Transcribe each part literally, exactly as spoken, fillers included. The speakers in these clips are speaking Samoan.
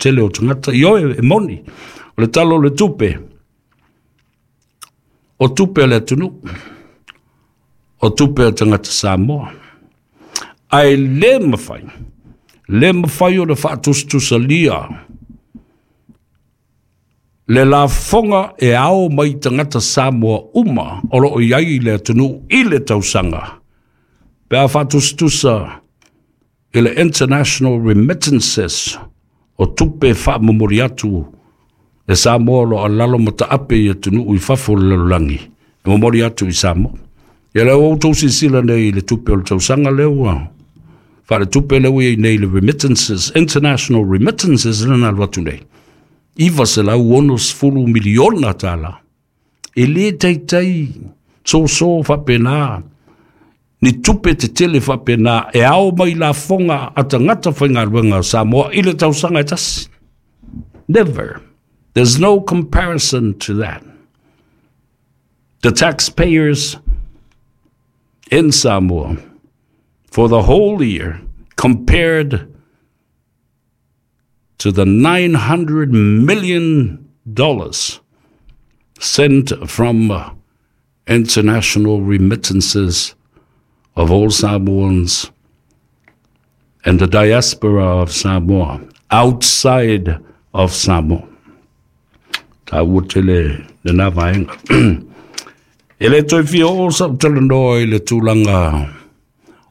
toatele o tagata. Ioe, e moni, o le tala o le tupe, o tupe a le atunuu, o tupe a tagata Samoa. Ae le mafai, le mafai o le faatusatusalia le lafoga e ao mai tagata Samoa uma o loo i ai i le atunuu i le tausaga, pe a faatusatusa i le international remittances o tupe faamomoli atu e Samoa o loo alalo ma taape i atunuu i fafo o le lalolagi e momoli atu i Samoa. Ia lea ua outou silasila nei i le tupe o le tausaga lea ua faaletupe lea ua i ai nei, le remittances, international remittances lea na alu atu nei, iva selau ono sefulu miliona tala. E lē taitai soso faapena ni tupe tetele faapena e ao mai lafoga a tagata faigaluega o Samoa i le tausaga e tasi. Never. There's no comparison to that. The taxpayers in Samoa for the whole year compared to the nine hundred million dollars sent from uh, international remittances of all Samoans and the diaspora of Samoa outside of Samoa. Taua tele lena vaega. E le toe fia oo sau talanoa i le tulaga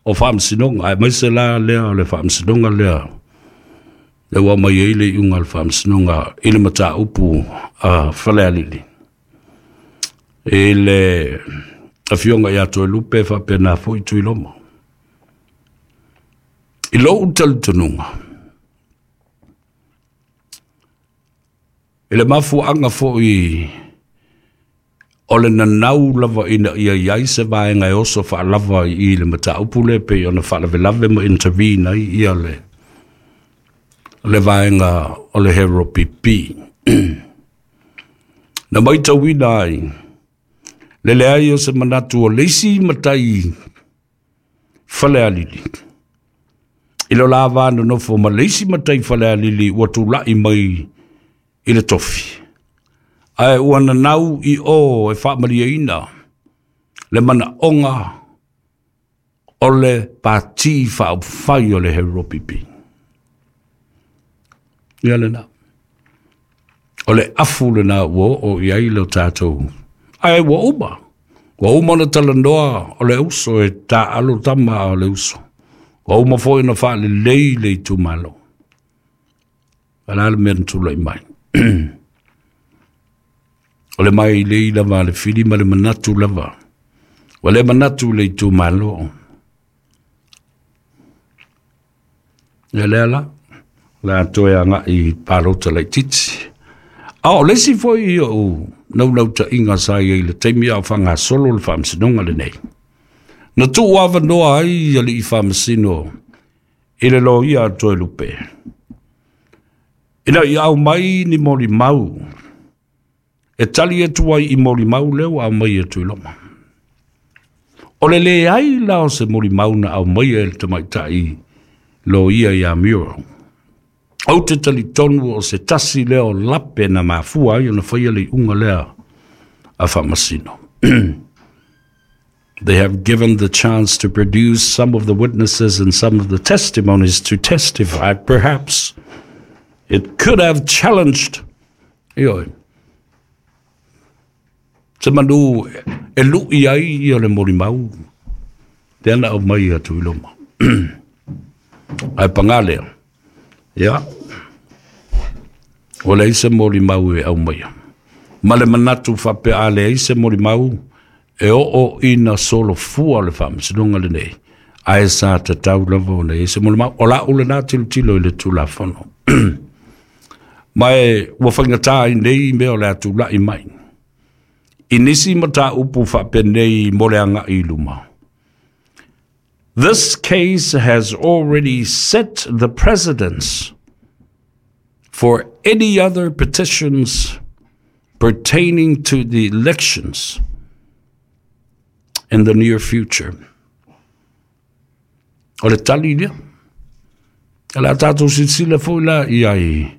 o faamasinoga, aemaise la lea o le faamasinoga lea le ua mai ai le iuga o le faamasinoga i le mataupu a Falealili i le afioga ia Toelupe faapena foi Tuiloma. I lou talitonuga, i le mafuaaga foi o le nanau lava ina ia i ai se vaega e oso faalava i le mataupu le pei ona faalavelave ma intervene ai ia le le vaega o le H R P P, na maitauina ai le leai o se manatu o le isi matai Falealili i lo la va nonofo ma le isi matai Falealili ua tula'i mai i le tofi, ae ua nanau i o e faamalieina le manaoga o le pati faaupufai o le H R P P. Ia lena. O le afu lena ua oo i ai le tatou. Ae ua uma. Ua uma ona talanoa o le uso e taaalo tama o le uso. Ua uma foi ona faalelei le itumalo. A le mea na tulai mai? O le mai lei lava le fili ma le manatu lava. Ua le manatu le itumalo. Ia lea la, la toe agai palota laitiiti. A o le isi foi ou naunautaiga sa i ai i le taimi a o faagasolo le faamasinoga lenei, na tuu avanoa ai alii faamasino i le loia a Toelupe ina ia aumai ni molimau e tali atu ai i molimau lea ua aumai e Tuiloma. O le leai la o se molimau na aumaia e le tamaitai loia ia Muriel, ou te talitonu o se tasi lea o lape na mafua ai ona faia le iuga lea a faamasino. They have given the chance to produce some of the witnesses and some of the testimonies to testify. Perhaps it could have challenged. Ioe. Se manu e lui ai ia le molimau te ana aumai a Tuiloma. Ae pagā lea, ia, ua leai se molimau e aumaia. Ma le manatu faapea a leai se molimau e oo ina solofua le faamasinoga lenei, ae sa tatau lava ona i ai se molimau. O lau lena tilotilo i le Tulafono. Ma e ua faigata ai nei mea o le a tula'i mai i nisi mataupu faapenei mo le aga'i i luma. This case has already set the precedence for any other petitions pertaining to the elections in the near future. O le tali lea. E le a tatou silasila foi la i ai.